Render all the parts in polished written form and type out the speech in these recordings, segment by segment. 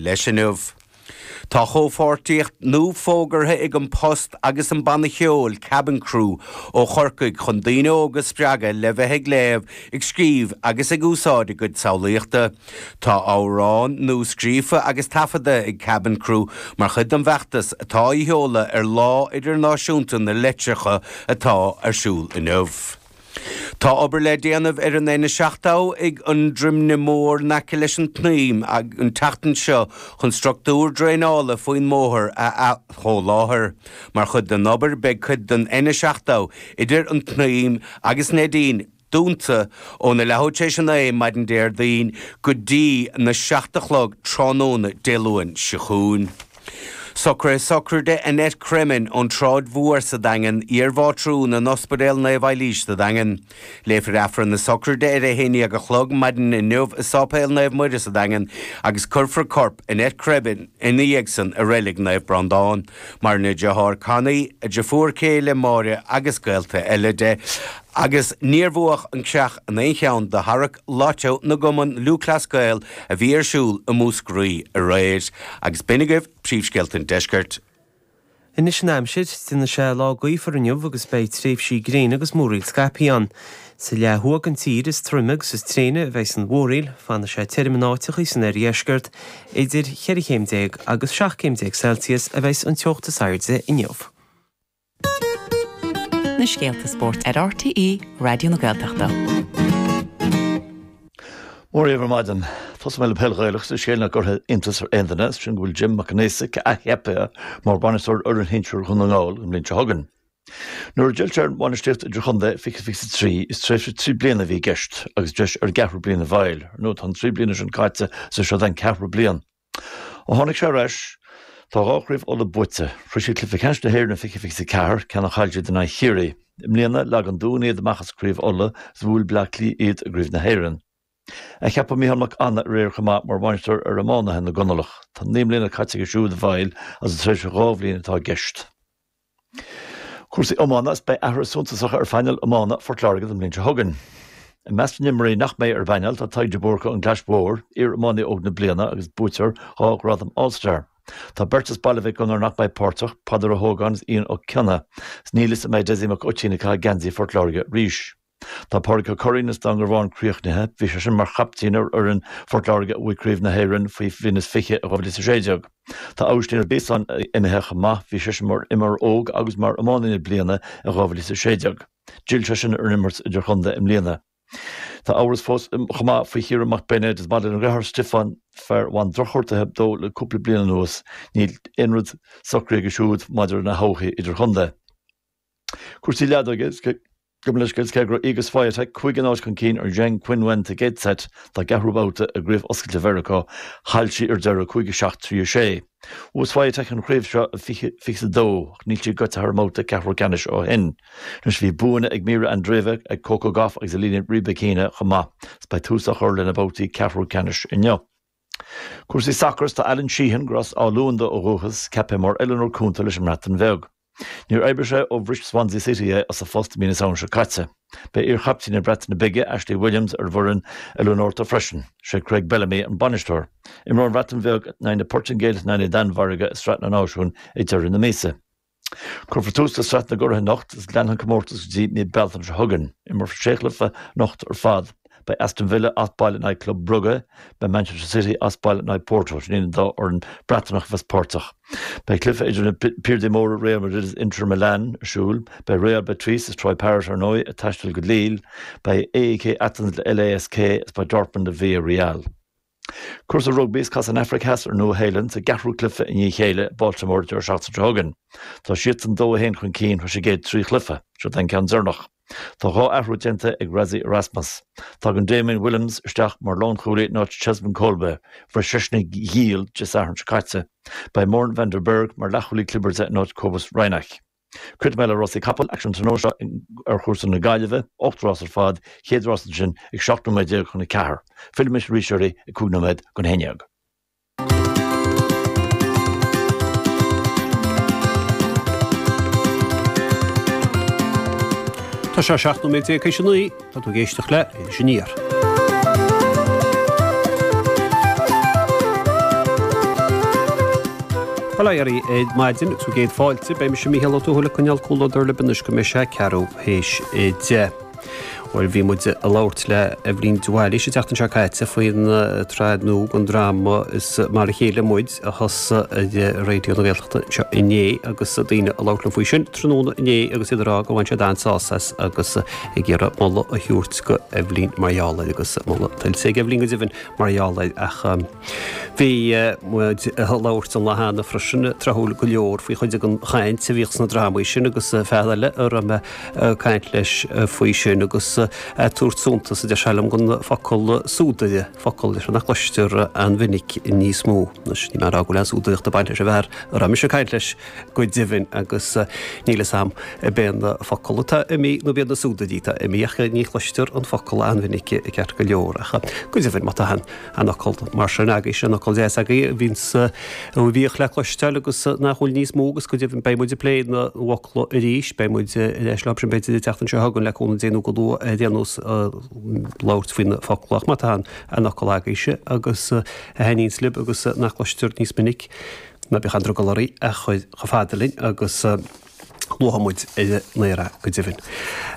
leis inniu. Tá comhpháirtíocht nua fógartha ag An Post agus an banna ceoil Cabin Crew ó Chorcaigh chun daoine óga a spreagadh le bheith ag léamh, ag scríobh agus ag úsáid a gcuid samhlaíochta. Tá amhrán nua scríofa agus taifeadta ag Cabin Crew mar chuid den bhfeachtas atá á sheoladh ar Lá Idirnáisiúnta na Litreacha atá ar siúl inniu. Tá obair le déanamh ar an N70 ag an Droimne Mór in aice leis an tSnaidhm an tseachtain seo chun struchtúr draenála faoin mbóthar a athsholáthar. Mar chuid den obair beidh cuid den N70 idir an tSnaidhm agus Neidín dúnta óna leathuair tar éis a 9 maidin Déardaoin go dtí na 7 a chlog tráthnóna Dé Luain seo chugainn. Socruithe sochraide Annette Cremin ón tSráid Mhór sa Daingean, iar-mhátrún in Ospidéal Naomh Eilís sa Daingean. Léifear Aifreann na sochraide ar a 11 a chlog maidin inniu i Sáipéal Naomh Muire sa Daingean agus cuirfear corp Annette Cremin ina dhiaidh san i Reilig Naomh Breandán. Maireann a deartháir Connie, a deirfiúr céile Máire agus gaolta eile di. Agus níor bhuadh an Creach in aon cheann de tharrac Lotto na gCumann Lúthchleas Gael a bhí ar siúl i Múscraí aréir. Agus b'in agaibh príomhscéalta an deiscirt. Anois an aimsir, déanfaidh sé lá gaofar inniu agus beidh tréimhsí gréine agus múraíl scaipthe ann. Sa leath thuaidh den tír is troime agus is tréine a bheidh an mhúraíl, fanfaidh sé tirim in áiteachaí san oirdheisceart, idir cheithre chéim déag agus 17 céim Celsius a bheidh an teocht is airde inniu. Na scéalta spóirt ar RTÉ Raidió na Gaeltachta. Mora dhaoibh ar maidin. Tosóidh mé le peil Ghaelach is scéal nach gcuirfidh iontas ar aon duine, is sin go bhfuil Jim Mac Con Aosaigh athcheaptha mar bhainisteoir fhoireann shinsir Dhún na nGall an bhliain seo chugainn. Nuair a d'fhill sé ar an bhainistíocht idirchontae i 2023, is tréimhse 3 bliana a bhí i gceist agus deis ar an gceathrú bliain a fháil. Ar ndóigh tá an 3 bliana sin caite is é seo an ceathrú bliain. Ó tháinig sé ar ais, tá 2 chraobh Uladh buaite. Shroich siad cluiche ceannais na hÉireann i 2024, ceann a chaill siad in aghaidh Chiarraí. I mbliana, leag an Dún iad amach as Craobh Uladh is bhuail Bleá Cliath iad i gCraobh na hÉireann. Athcheapadh Micheál Mac Annaidh aréir chomh maith mar bhainisteoir ar iománaithe na gConallach. Tá 9 mbliana caite aige siúd i bhFeighil agus tréimhse 2 bhliain atá i gceist. Cúrsaí iomána is beidh athruithe suntasacha ar phainéal iomána Phort Láirge don bhliain seo chugainn. I measc na n-imreoirí nach mbeidh ar an bpainéal tá Tadhg de Búrca ón gClais Mhór, iar-iománaí óg na bliana agus buaiteoir 2 ghradam All Star. Tá beirt as Baile Mhic Gonair nach mbeidh páirteach, Peadar Ó hÓgáin is Ian Ó Cionnaith, is níl fhios an mbeidh Dessie Mac Uaitín ag caitheamh geansaí Phort Láirge arís. Tá Pádraig Ó Curraoin as Dún Garbhán críochnaithe. Bhí seisean mar chaiptín ar fhoireann Phort Láirge a bhuaigh Craobh na hÉireann faoi bhliain is 20 i 2016. Tá Aibhistín Ó Beasáin imithe chomh maith. Bhí seisean mar imreoir óg agus mar iománaí na bliana i 2016. D'fhill seisean ar an imirt idirchontae i mbliana. Tá amhras fós chomh maith faoi Chiarán Mac Beinéid is maidir lena dheartháir Stiofán, fear a bhain drochghortuithe dó le cúpla bliain anuas, níl aon rud socraithe aige siúd maidir lena thodhchaí idirchontae. Cúrsaí leadóige, Gabh mo leithscéal, cé go raibh Iga Swiatek 5 0 chun cinn ar Zheng Qinwen sa gcéad seit dá gceathrú babhta i gCraobh Oscailte Mheiriceá, chaill sí ar deireadh 5 7 3 6. Bhuaigh Swiatek an chraobh seo i 2022 ach níl sí gaibhte thar an mbabhta ceathrú ceannais ó shin. Anois bhí buanna ag Mirra Andreeva, ag Coco Gauff agus Elena Rybakina chomh maith is beidh tús á chur lena babhtaí ceathrú ceannais inniu. Cúrsaí sacair, Tá Alan Sheehan, gur as Áth Luain dó ó dhúchas, ceaptha mar oiliúnóir cúnta leis an mBreatain Bheag. Níor oibrigh sé ó bhris Swansea City é as a phost i mí na Samhna seo caite. Beidh iar-chaiptín na Breataine Bige, Ashley Williams, ar an bhfoireann oiliúnóireachta freisin. Sé Craig Bellamy an bainisteoir. Imreoidh an Bhreatain Bheag in aghaidh na Portaingéile is in aghaidh na Danmhairge i Sraith na Náisiún ag deireadh na míosa. Cuirfear tús le Sraith na gCuradh anocht agus leanfaidh an comórtas go dtí mí Bealtaine seo chugainn. Imreofar sé chluiche anocht ar fad. Beidh Aston Villa as baile in aghaidh Club Brugge, beidh Manchester City as baile in aghaidh Porto. Sin iad an dá fhoireann Breatanach a bheas páirteach. Beidh cluiche idir na piardaí móra Real Madrid is Inter Milan ar siúl. Beidh Real Betis is Troy Parrott ar ndóigh ag taisteal go Lille. Beidh AEK Athens le LASK is beidh Dortmund le Villarreal. Cúrsaí rugbaí is casfaidh an Afraic Theas ar an Nua-Shéalainn sa gceathrú cluiche i ndiaidh a chéile i Baltimore an deireadh seachtaine seo chugainn. Tá siadsan 2-1 chun cinn tar éis a gcéad 3 chluiche. Seo don ceann deireanach. Tá 2 athrú déanta ag Rassie Erasmus. Tagann Damian Williams isteach mar lánchúlaí in áit Cheslin Kolbe. Bhris seisean a ghiall Dé Sathairn seo caite. Beidh Morne van der Berg mar leathchúlaí clibirte in áit Cobus Reinach. Críochnóidh mé le rásaí capall, aicsean tráthnóna seo ar chúrsa na Gaillimhe, 8 rás ar fad, chéad rás ansin ag 17 nóiméad chun 4. Fillfidh mise arís oraibh ag 5 nóiméad don 11. Tá sé 17 nóiméad théis a 9, tá tú ag éisteacht le Iris Aniar. Bail ó Dhia oraibh ar maidin agus bhur gcéad fáilte. Beidh mise Mícheál Ó Tuathail ag coinneáil comhluadar libh anois go mbeidh sé ceathrú théis 10. Bhuel, bhí muid ag labhairt le Eibhlín de Bhailís an tseachtain seo caite faoin tsraith nua den dráma Is Mar a Chéile Muid a thosaigh ar Raidió na Gaeltachta anseo inné agus daoine ag labhairt liom faoi sin tráthnóna inné agus iad ag rá gur bhain siad an-sásamh as agus ag iarraidh moladh a thabhairt go Eibhlín mar gheall air agus moladh tuillte ag Eibhlín go deimhin mar gheall air ach bhí muid ag labhairt an lá cheana freisin tráthúil go leor faoi chuid den chaint a bhíodh sna drámaí sin agus fear eile a raibh mé ag caint leis faoi sin agus ag tabhairt suntas a deir sé liom don focal súdaire, focal nach gcloistear an-mhinic níos mó. Anois níl mé ag rá go bhfuil aon súdaireacht ag baint leis an bhfear a raibh mise ag caint leis go deimhin agus níl fhios a'm ab é an focal atá imithe nó ab iad na súdairí atá imithe ach ní chloistear an focal an-mhinic ceart go leor ach go deimhin má tá an fhocal mar sin agaibh sin fhocal deas agaibh a bhíonns a bhíodh le cloisteáil agus nach bhfuil níos mó agus go deimhin beidh muid ag plé na bhfocla arís beidh muid ar ais leo sin b'fhéidir an tseachtain seo chugainn le cúnamh Dé nó go luath ar aon nós labhairt faoi na focla ach má tá an fhocal agaibhse agus a thaitníonns libh agus nach gcloistear níos minic Ná bíodh aon drogall oraibh a chur chomh fada linn agus luafaidh muid ar an aer é go deimhin.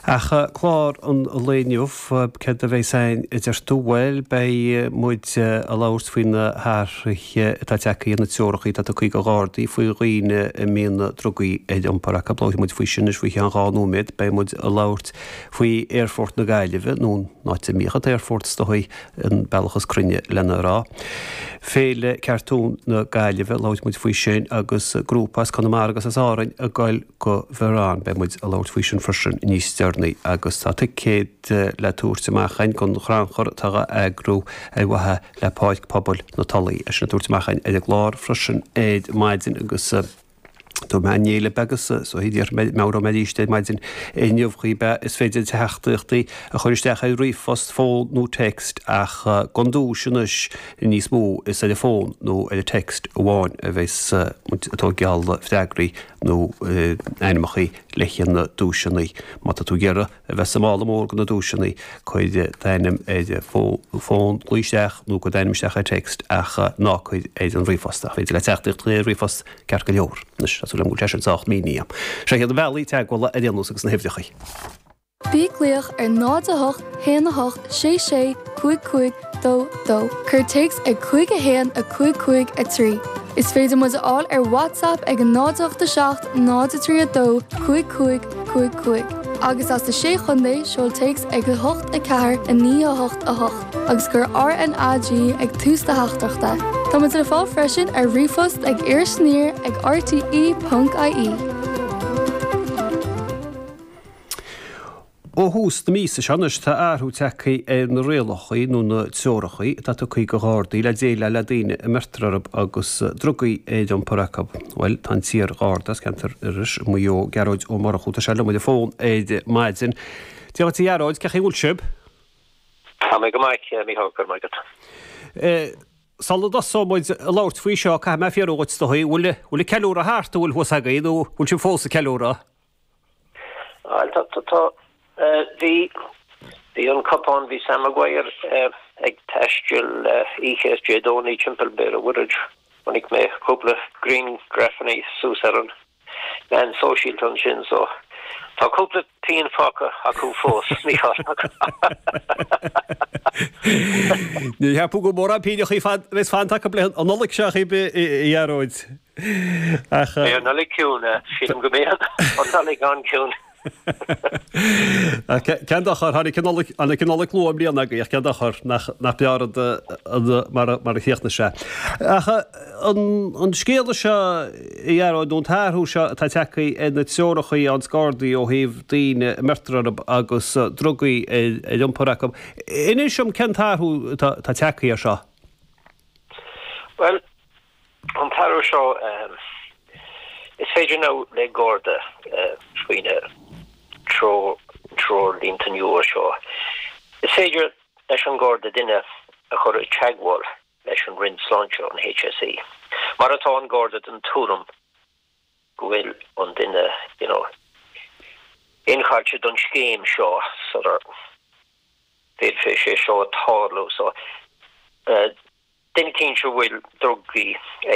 Ach clár an lae inniu, céard a bheas againn a deir tú? Bhuel, beidh muid ag labhairt faoi na hathruithe atá tagtha ar na treoracha atá tugtha do Ghardaí faoi dhaoine a mbíonn drugaí ar iompar acu. Labharfaidh muid faoi sin anois faoi cheann 2 nóiméad. Beidh muid ag labhairt faoi Aerfort na Gaillimhe, nó an áit a mbíodh an t-aerfort is dóigh, an bealach is cruinne lena rá. Féile Cartún na Gaillimhe, labharfaidh muid faoi sin agus grúpa as Conamara agus as Árainn ag goil go Verona. Beidh muid ag labhairt faoi sin freisin níos deireanaí agus tá ticéid le tabhairt amach againn don chrannchur atá á eagrú ar mhaithe le Páirc Pobail na Tulaí. É sin á tabhairt amach againn ar an gclár freisin ar maidin agus. Dúirt mé inné libh agus so déarfaidh mé, meabhróidh mé arís ar maidin inniu dhaoibh, is féidir teachtaireachtaí a chur isteach ar ríomhphost, fón nó text ach don duais anois níos mó is ar an bhfón nó ar an text amháin a bheas muid ag tógáil freagraí nó ainmneacha le haghaidh na duaiseanna. Má tá tú ag iarraidh a bheith sa mála mór do na duaiseanna, cuir d'ainm ar an bhfón, glaoigh isteach nó cuir d'ainm isteach ar text ach ná cuir ar an ríomhphost. Ach féidir leat teachtaireacht a chur ar ríomhphost ceart go leor. Anois, tá súil agam go bhfuil sé sin sách mínithe. Seo iad na bealaí teagmhála ar aon nós agus na huimhreacha. Bí ag glaoch ar 0 8 1 8 6 6 5 5 2 2. Cuir téacs ag 5 1 5 5 3. Is féidir muid a fháil ar WhatsApp ag 0 8 7 0 3 2 5 5 5 5. Agus as na Sé Chontae, seol téacs ag 8 4 9 8 8 agus cuir RNAG ag tús do theachtaireachta. Tá muid le fáil freisin ar ríomhphost ag irisaniar ag rte.ie. Ó thús na míosa seo anois tá athrú tagtha ar na rialacha nó na treoracha atá tugtha do Ghardaí le déileáil le daoine a mbeirtear orthu agus drugaí ar iompar acu. Bhuel, tá an t-iar-Gharda as ceantar Iorrais i Maigh Eo, Gearóid Ó Murchú, tá sé liom ar an bhfón ar maidin. Dia dhuit a Ghearóid, cén chaoi a bhfuil sibh? Tá mé go maith, a Mhícheáil, go raibh maith agat. Sula dtosóidh muid ag labhairt faoi seo, caithfidh mé fiafraí dhuit, is dóigh, bhfuil an ceiliúradh thart, an bhfuil thuas agaibh nó bhfuil sibh fós ag ceiliúradh? Bhuel, tá, tá, tá, bhí, bhí an cupán, bhí Sam Maguire ag taisteal oíche Dé Domhnaigh timpeall Béal an Mhuirthead. Chonaic mé cúpla grianghrafanna suas ar an meán sóisialta ansin, so tá cúpla pian fágtha acu fós, Mícheál. Ní cheapaim go bhfuil mórán pianneachaí a bheas fanta acu le an Nollaig seo, a Ghearóid. Ach. Beidh an Nollaig ciúin, sílim go mbeidh an Nollaig an-chiúin. Ach cén dochar, tháinig an Nollaig, tháinig an Nollaig luath i mbliana agaibh, ach cén dochar nach, nach breá rud mar, mar a chríochnaigh sé. Ach an, an scéal seo, a Ghearóid, nó an t-athrú seo atá tagtha ar na treoracha ón Gardaí ó thaobh daoine a mbeirtear orthu agus drugaí ar, ar iompar acu, inis dom cén t-athrú atá, atá tagtha air seo? Bhuel, An t-athrú seo, is féidir now le Garda faoi na treoirlínte nua seo, is féidir leis an Garda duine a chur i dteagmháil leis an Roinn Sláinte, an HSE, mar atá an Garda den tuairim go bhfuil an duine, you know, incháilithe don scéim seo sular bhféadfadh sé seo tarlú. So, duine eicínt a bhfuil drugaí.